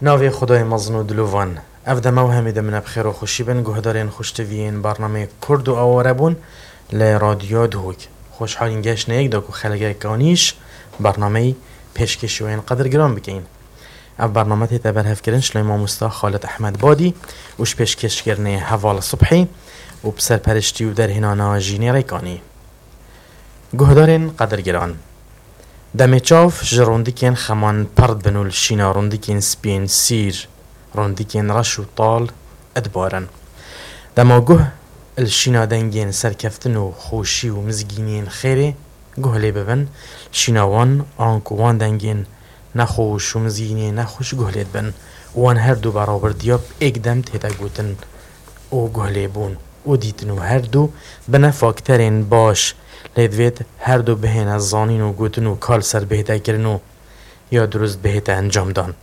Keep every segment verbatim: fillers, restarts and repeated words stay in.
Navê Xwedayê mezin û dilovan. Ev dema û hemî demine bi xêr û xweşî bin, guhdarên xweştiviyên bernameyê Kurd û Awarebûn li Radyo Duhok. Xweşhalîn geştine yek da ku xelekek anîş bernameyî pêşkêşî we yên qedirgiran bikeyin. Ev bername tête berhevkirin ji lay mamosta Xalid Ehmed Badî û ji pêşkêşkirinê Heval Subhî û bi serperiştî û derhênana Jînê Rêkanî. Guhdarên qedirgiran, demê çav ji rûndikên xeman perd bin û li şîna rûndikên spiyên sîr, rûndikên reş û tal dibarin. Dema guh li şîna dengên serkeftin û xweşî û mizgîniyên xêrê guh lê bibin, li şîna wan anku wan dengên nexweş û mizgîniyên nexweş guh lê dibin û wan her du berawerdiya bi êk dem tête gotin û guh lê bûn û dîtin û her du bine fakterên baş lê divêt her du bihêne zanîn û gotin û ka li ser bihête kirin û ya dirust bihête encamdan.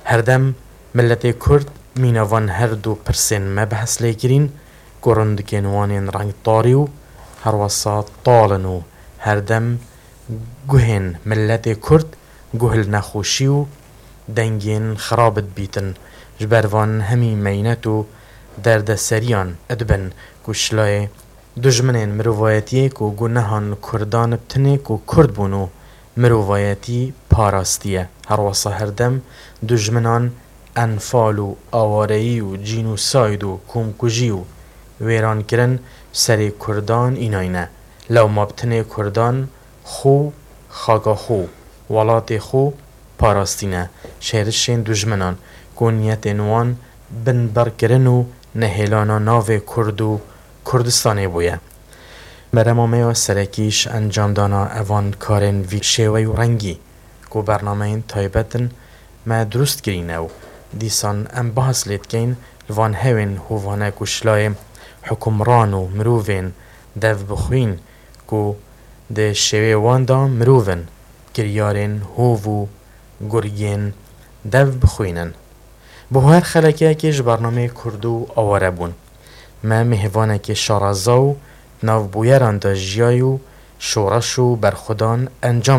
Herdem miletê Kurd mîna van her du pirsên me behs lê kirîn ku rindikên wan ên rengtarî û herwesa tal in û herdem guhên miletê Kurd guh li nexweşî û dengên xirab dibîtin. Ji ber van hemî meynet û derdeseriyan dibin ku şilayê dujminên mirovayetiyê ku gunehan Kurdan bi tinê ku Kurd bûn û mirovayetî parastiye. Herwesa herdem dujminan enfal û awareyî û cînûsayd û komkujî û wêrankirin serê Kurdan înayne. Lewma bi tinê Kurdan xwe, xaka xwe, welatê xwe parastîne ji hêrişên dujminan ku niyetên wan binbir kirin û nehêlana navê Kurd û Kurdistanê bûye. Berema me ya serekî ji encamdana evan karên vî şêwey û rengî ku bernameyên taybet in me dirust kirîne û dîsan em bahs lê dikeyn li van hewên hovane ku şilayê hukimran û mirovên dev bixwîn ku di şêwê wan de mirov in, kiryarên hov û gurgên dev bixwînin. Bo her xelekeyekê ji bernameyê Kurd û Aware bûn. Me mêvanekê şaraza û di nav bûyeran de jiyayî û şoreş û berxwedan encam